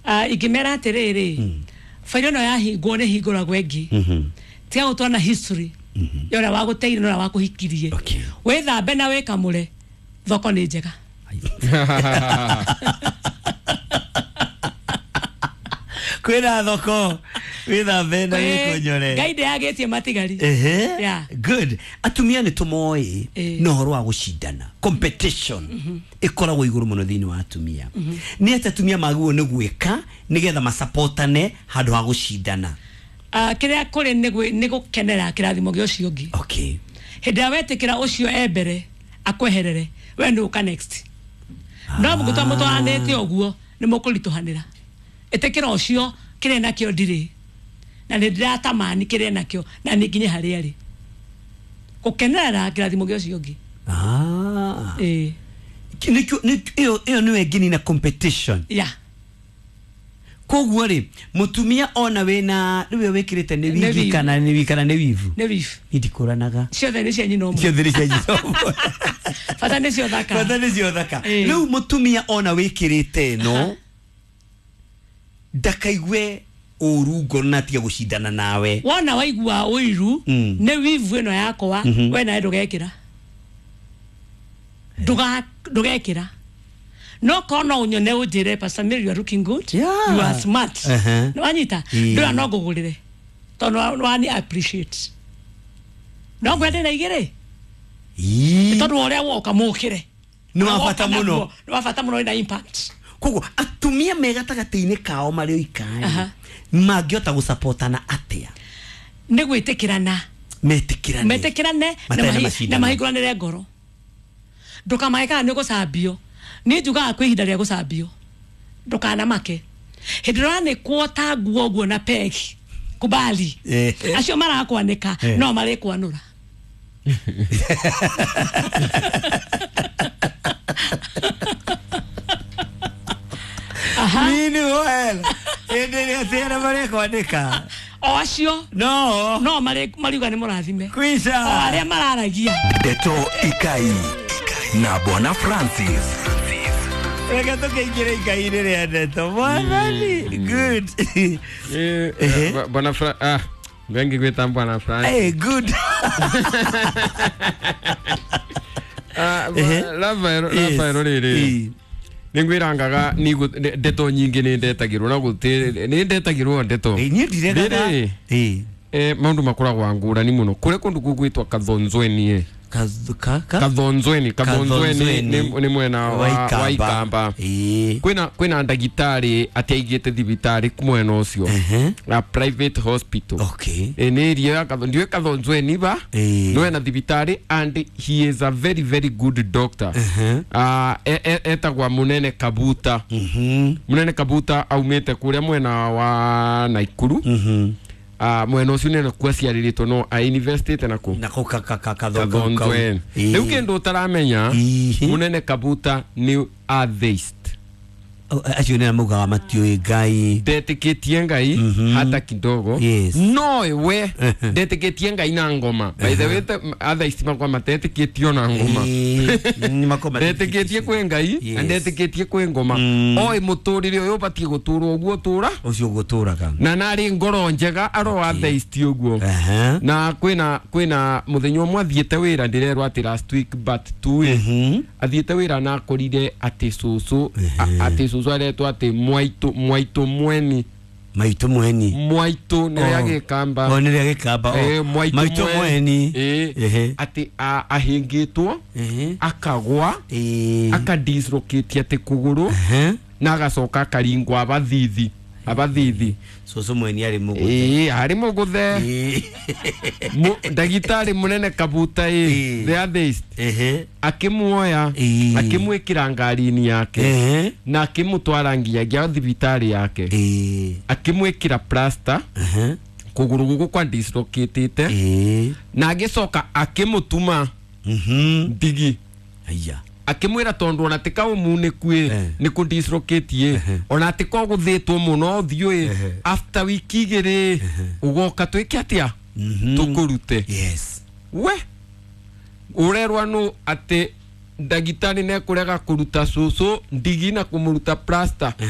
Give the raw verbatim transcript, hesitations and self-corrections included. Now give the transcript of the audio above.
Ah, ingĩmera atĩrĩrĩ, bairo ĩno yahingwo nĩ hingũragwo ĩngĩ. Tiga gũtwara na history ya ũrĩa wagũteire na ũrĩa wakũhikirie. Okay. Wĩthambe na wĩkamũre, thoko nĩ njega. Kwĩna thoko, wĩthambe na Ĩĩ, wĩkonyore. Ngai ndĩagĩtie matigari. Ehe. Yeah. Good. Atumia nĩ tũmoĩ Ĩĩ. na ũhoro wa gũcindana, competition ĩkoragwo igũrũ mũno thĩinĩ wa atumia. Nĩ atĩ atumia magĩrĩirwo nĩ gwĩka nĩgetha masapotane handũ ha gũcindana? Ah, kĩrĩa kũrĩ nĩ gwĩ- nĩ gũkenera kĩrathimo gĩa ũcio ũngĩ. Okay. Hĩndĩ ĩrĩa wetĩkĩra ũcio e mbere akweherere, we nĩ ũka next. No mũgũtwa mũtwaranĩte ũguo nĩ mũkũritũhanĩra. Ĩtĩkĩra ũcio kĩrĩa nakĩo ndirĩ na nĩ ndĩratamani kĩrĩa nakĩo na nĩ nginye harĩa arĩ, gũkenerera kĩrathimo gĩa ũcio ũngĩ. Ah. Ĩĩ. Nĩkĩo nĩ- ĩyo ĩyo nĩyo ĩngĩnina competition. Ya. Koguo rĩ, mũtumia ona wĩna rĩu ĩyo wĩkĩrĩte nĩ Nĩ wigi weave. kana nĩ wi- kana nĩ wivu? Nĩ weave. Niĩ ndikũranaga. Ciothe nĩ cia nyina ũmwe. Ciothe nĩ cia nyina ũmwe. Bata nĩ cio thaka. Bata nĩ cio thaka. Ĩĩ. Rĩu mũtumia ona wĩkĩrĩte ĩno ndakaigue ũru ngoro na atige gũcindana nawe. Wona waigua ũiru Mm. nĩ wivu ĩno yakwa, we nawe ndũgekĩra. Ndũga- ndũgekĩra no korwo no ũnyone ũnjĩre, "Pastor Mary, you are looking good." Yeah. "You are smart." Uh-huh. Nĩ wanyita? Ĩĩ. Ndũra no ngũgũrĩre tondũ nĩ wani appreciate no ngwende na igĩrĩ. Ii. Tondũ wa ũrĩa woka mũkĩre. Nĩ wa bata mũno. Nĩ wa bata mũno, wĩna impact. Koguo atumia me gatagatĩ-inĩ kao marĩ oikarĩ Aha. mangĩhota gũsapotana atĩa? Nĩ gwĩtĩkĩrana. Metĩkĩrane. Metĩkĩrane na Matarĩ na mahi- macindano. na mahingũranĩre ngoro. Ndũkamake kana nĩ ũgũcambio. Niĩ njugaga kwĩ ihinda rĩa gũcambio, ndũkanamake hĩndĩ ĩrĩa ũranĩkwo ta nguo ũguo na pegi kubali. Eh. Acio marakwanĩka Eh. no marĩkwanũra. Aha. Meanwhile, hĩndĩ ĩrĩa atĩ arĩa marekwandĩka O acio no no marĩ- mariuga nĩ mũrathime o kwisha. arĩa mararagia. Ndeto Ikai na Bwana Francis. Reke tũkĩingĩre ikai-inĩ rĩa ndeto, mwathani. Good. Eh, Ehe. eh, Bwana Fra ah, wengi gwita Bwana Francis. Hey, good. Ah, Ehe. Rafael. Yes. Rafael rĩrĩ Ĩĩ. nĩ ngwĩrangaga ndeto nyingĩ nĩ ndetagĩrwo na gũtĩ nĩ ndetagĩrwo ndeto. Ĩĩ, niĩ ndiregaga. Rĩrĩ Ĩĩ. eh, maũndũ makoragwo ngũrani mũno kũrĩa kũndũ gũgwĩtwo Kathonzweni ĩ. Kath- ka- ka- Kathonzweni, Kathonzweni Kathonzweni. nĩ nĩ mwena wa wa Ikamba. Ĩĩ. kwĩna kwĩna ndagĩtarĩ atiaigĩte thibitarĩ mwena ũcio Ehe. na private hospital. Okay. Ĩ, nĩ area ya Katho- ndiũĩ Kathonzweni ba Ĩĩ. no ena thibitarĩ and he is a very very good doctor. Ehe. Ah, e- e- etagwa Munene Kabuta. Mhm. Munene Kabuta aumĩte kũrĩa mwena wa Naikuru. Mhm. Ah, mwena ũcio nĩ nakuo aciarĩrĩtwo no ainvestĩte nakũ Nako ka- ka- ka- kathongo kau. Kathonzweni. Ĩĩ. Rĩu kĩndũ ũtaramenya, Ĩĩ. Munene Kabuta nĩ atheist. Oh, acio nĩ maugaga matiũĩ Ngai. Ndetĩkĩtie Ngai hata kidogo. Yes. No we ndetĩkĩtie Ngai na ngoma. By the way, te- atheist makwa matetĩkĩtio na ngoma. Ĩĩ, nĩ makoragwo Ndetĩkĩtie kwĩ Ngai na Yes. ndetĩkĩtie kwĩ ngoma. Mm. Oĩ mũtũrĩre ũyũ ũbatiĩ gũtũrwo ũguo tũra ũcio ũguo tũraga. Na narĩ ngoro njega aro atheist ũguo. Aha. Na kwĩna kwĩna mũthenya ũmwe athiĩte wĩra, ndĩrerwo atĩ last week but two ĩ, Mhm. athiĩte wĩra na akorire atĩ cũcũ a- atĩ cũcũ aretwo atĩ mwaitũ mwaitũ mweni. Maitũ mweni. Mwaitũ nĩ rĩa Oh. Gĩkamba. Oh, nĩ rĩa Gĩkamba, oh. Eh, mwaitũ Maitũ mweni. Ĩ, Ehe. atĩ a- ahĩngĩtwo Ehe. akagwa Ĩĩ. akadislocate atĩ kũgũrũ Ehe. na agacoka akaringwo abathithi abathithi. Cũcũ mweni arĩ mũgũthe. Ĩĩ, arĩ mũgũthe. Ĩĩ. Mu- ndagĩtarĩ Mũnene Kabuta ĩ, Ĩĩ. the atheist, Ehe. akĩmuoya, Ĩĩ. akĩmwĩkĩra ngari-inĩ yake Ehe. na akĩmũtwara nginyagia thibitarĩ yake, Ĩĩ. akĩmwĩkĩra plaster Ehe. kũgũrũ gũkũ kwa dislocatĩte Ĩĩ. na agĩcoka akĩmũtuma Mhm. ndigi. Aya. Akĩmwĩra tondũ ona tika ũmunĩku ĩ, Eh. nĩ kũ dislocate ĩ, ona tika ũgũthĩtwo mũno ũthiũ ĩ, Ehe. after wiki igĩrĩ ũgoka twĩke atĩa? Mhm. Tũkũrute. Yes. We ũrerwa nũ atĩ Ndagĩtarĩ nĩekũrega kũruta cũcũ ndigi na kũmũruta plaster.